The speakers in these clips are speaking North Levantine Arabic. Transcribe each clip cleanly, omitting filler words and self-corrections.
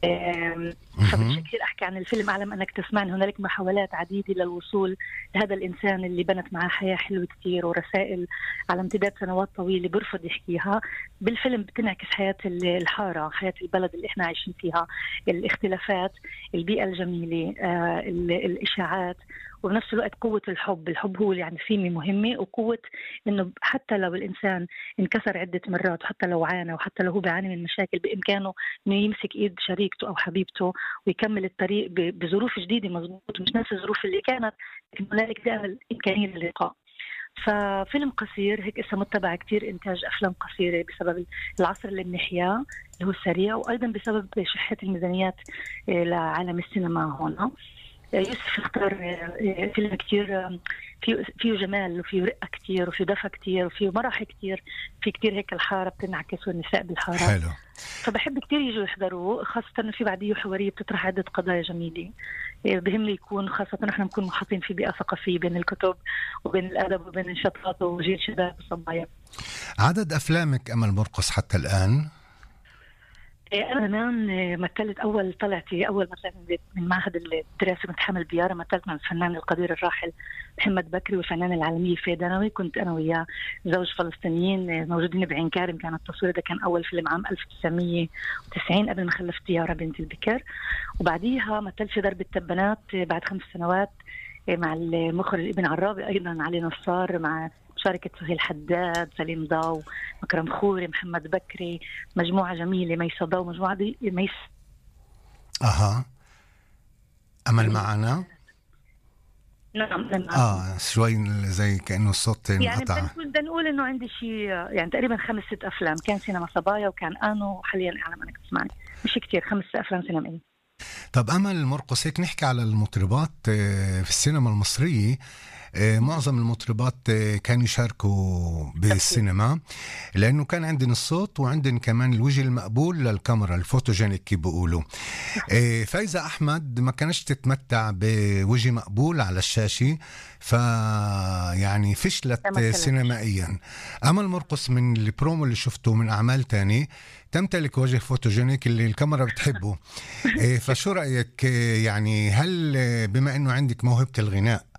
فبدي كثير أحكي عن الفيلم. أعلم أنك تسمعني، هنالك محاولات عديدة للوصول لهذا الإنسان اللي بنت معاه حياة حلوة كتير ورسائل على امتداد سنوات طويلة برفض يحكيها. بالفيلم بتنعكس حياة الحارة، حياة البلد اللي إحنا عايشين فيها، الاختلافات، البيئة الجميلة، الإشاعات، وبنفس الوقت قوة الحب. الحب هو يعني سمة مهمة، وقوة إنه حتى لو الإنسان انكسر عدة مرات، وحتى لو عانى، وحتى لو هو بيعاني من مشاكل، بإمكانه إنه يمسك إيد شريكته أو حبيبته ويكمل الطريق بظروف جديدة. مظبوط، مش نفس الظروف اللي كانت، لكن هنالك دائما الإمكانية للقاء. ففيلم قصير هيك اسمه متبع كتير إنتاج أفلام قصيرة بسبب العصر اللي بنحياه اللي هو السريع، وأيضا بسبب شحة الميزانيات لعالم السينما هون. يوسف اختار فيلم كتير فيه جمال، وفيه رقة كتير، وفيه دفى كتير، وفيه مرح كتير، في كتير هيك الحارة بتنعكس والنساء بالحارة. حلو. فبحب كتير يجوا يحضروه، خاصة إنه في بعديه حوارية بتطرح عدة قضايا جميلة. بهمني يكون، خاصة نحن نكون محاطين في بيئة ثقافية بين الكتب وبين الأدب وبين النشاطات وجيل شباب وصبايا. عدد أفلامك أمل مرقص حتى الآن؟ أنا زمان مثلت أول مثلا من معهد الدراسة متحمل بيارة، مثلت مع الفنان القدير الراحل محمد بكري والفنانة العالمية فيدانوي. كنت أنا وياه زوج فلسطينيين موجودين بعين كارم. كان التصوير ده كان أول فيلم عام 1990 قبل ما خلفت يارا بنت البكر. وبعديها مثلت في درب التبنات بعد 5 سنوات مع المخرج ابن عرابي، أيضا علي نصار، مع مشاركة سهيل حداد، سليم ضاو، مكرم خوري، محمد بكري، مجموعة جميلة، ميسة ضاو، مجموعة دي أمل معنا. نعم. شوي زي كأنه الصوت انقطع. يعني بدنا نقول إنه عندي شيء يعني تقريبا 5-6 أفلام. كان سينما صبايا، وكان أنو، وحاليا أعلم أنك تسمعني. مش كتير، 5 أفلام سينمائية. طب أمل مرقص، هيك نحكي على المطربات في السينما المصرية. معظم المطربات كانوا يشاركوا بالسينما، لأنه كان عندنا الصوت وعندنا كمان الوجه المقبول للكاميرا، الفوتوجينيك كي بيقولوا. فايزة أحمد ما كانش تتمتع بوجه مقبول على الشاشة، يعني فشلت سينمائيا. أمل مرقص من البرومو اللي شفته من أعمال تاني تمتلك وجه فوتوجينيك اللي الكاميرا بتحبه. فشو رأيك؟ يعني هل بما أنه عندك موهبة الغناء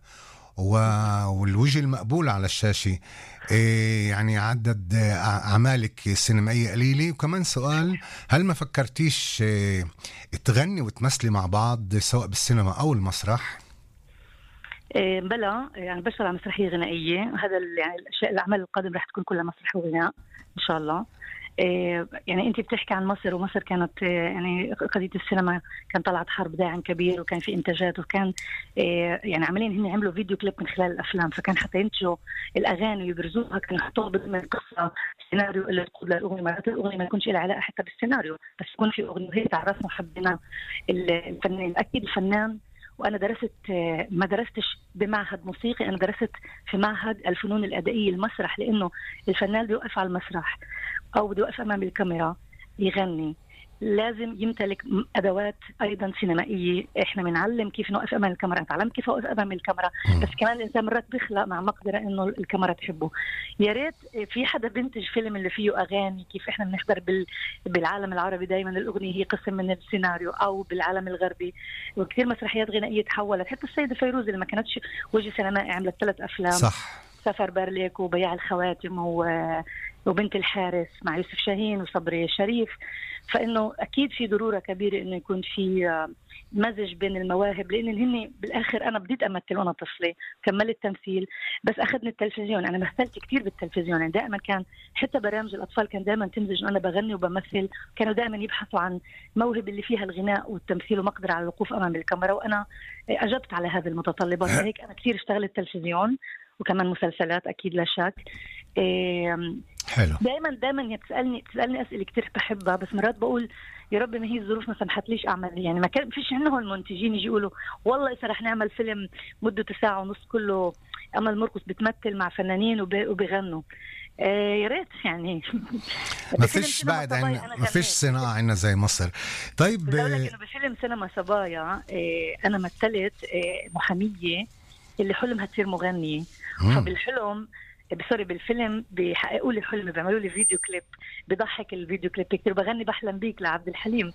والوجه المقبول على الشاشة، يعني عدد أعمالك السينمائية قليلة؟ وكمان سؤال، هل ما فكرتيش تغني وتمثلي مع بعض سواء بالسينما أو المسرح؟ بلا، يعني بشتغل على مسرحية غنائية. هذا يعني الأشياء، الأعمال القادمة رح تكون كلها مسرح وغناء إن شاء الله. يعني أنت بتحكي عن مصر، ومصر كانت يعني قضية السينما كان طلعت حرب داعم كبير، وكان في إنتاجات، وكان يعني عمليا هن عملوا فيديو كليب من خلال الأفلام. فكان حتى ينتجوا الأغاني ويبرزوها كانوا يحطوها ضمن القصة، السيناريو اللي تقود للأغنية. مرات الأغنية ما يكونش لها علاقة حتى بالسيناريو، بس يكون في أغنية هي تعرفنا وحبينا الفنان. أكيد الفنان. وأنا درست، ما درستش بمعهد موسيقي، أنا درست في معهد الفنون الأدائية المسرح، لأنه الفنان بيوقف على المسرح أو بده يوقف أمام الكاميرا يغني، لازم يمتلك أدوات أيضا سينمائية. إحنا بنعلم كيف نوقف أمام الكاميرا، نتعلم كيف أوقف أمام الكاميرا، بس كمان الإنسان مرات بيخلق مع مقدرة إنه الكاميرا تحبه. يا ريت في حدا بنتج فيلم اللي فيه أغاني، كيف إحنا بنحضر بالعالم العربي دايما الأغنية هي قسم من السيناريو، أو بالعالم الغربي وكثير مسرحيات غنائية تحولت. حتى السيدة فيروز اللي ما كانتش وجه سينمائي عملت 3 أفلام، صح. سفر برليك، وبياع الخواتم، وبنت الحارس مع يوسف شاهين وصبري الشريف. فإنه أكيد في ضرورة كبيرة إنه يكون في مزج بين المواهب، لأن هن بالآخر أنا بديت أمثل وأنا طفلة، كملت تمثيل، بس أخذني التلفزيون. أنا مثلت كتير بالتلفزيون، يعني دائما كان حتى برامج الأطفال كان دائما تمزج أنا بغني وبمثل. كانوا دائما يبحثوا عن موهبة اللي فيها الغناء والتمثيل ومقدرة على الوقوف أمام الكاميرا، وأنا أجبت على هذه المتطلبات. هيك أنا كتير اشتغلت تلفزيون وكمان مسلسلات أكيد لا شك. حلو. دائما تسألني أسئلة كتير بحبها، بس مرات بقول يا رب ما هي الظروف ما سمحتليش أعمل. يعني ما كان فيش عندهم المنتجين يجي يقولوا والله إذا رح نعمل فيلم مدته 1.5 ساعة كله أمل مرقص بتمثل مع فنانين وبيغنوا. يا ريت يعني. ما فيش بعد ما فيش صناعة عندنا زي مصر. طيب بقول لك إنه بفيلم سينما صبايا أنا مثلت محامية اللي حلمها تصير مغنية. فبالحلم بالفيلم بيحققوا لي حلمي، بيعملوا لي فيديو كليب، بضحك الفيديو كليب كتير، بغني بحلم بيك لعبد الحليم.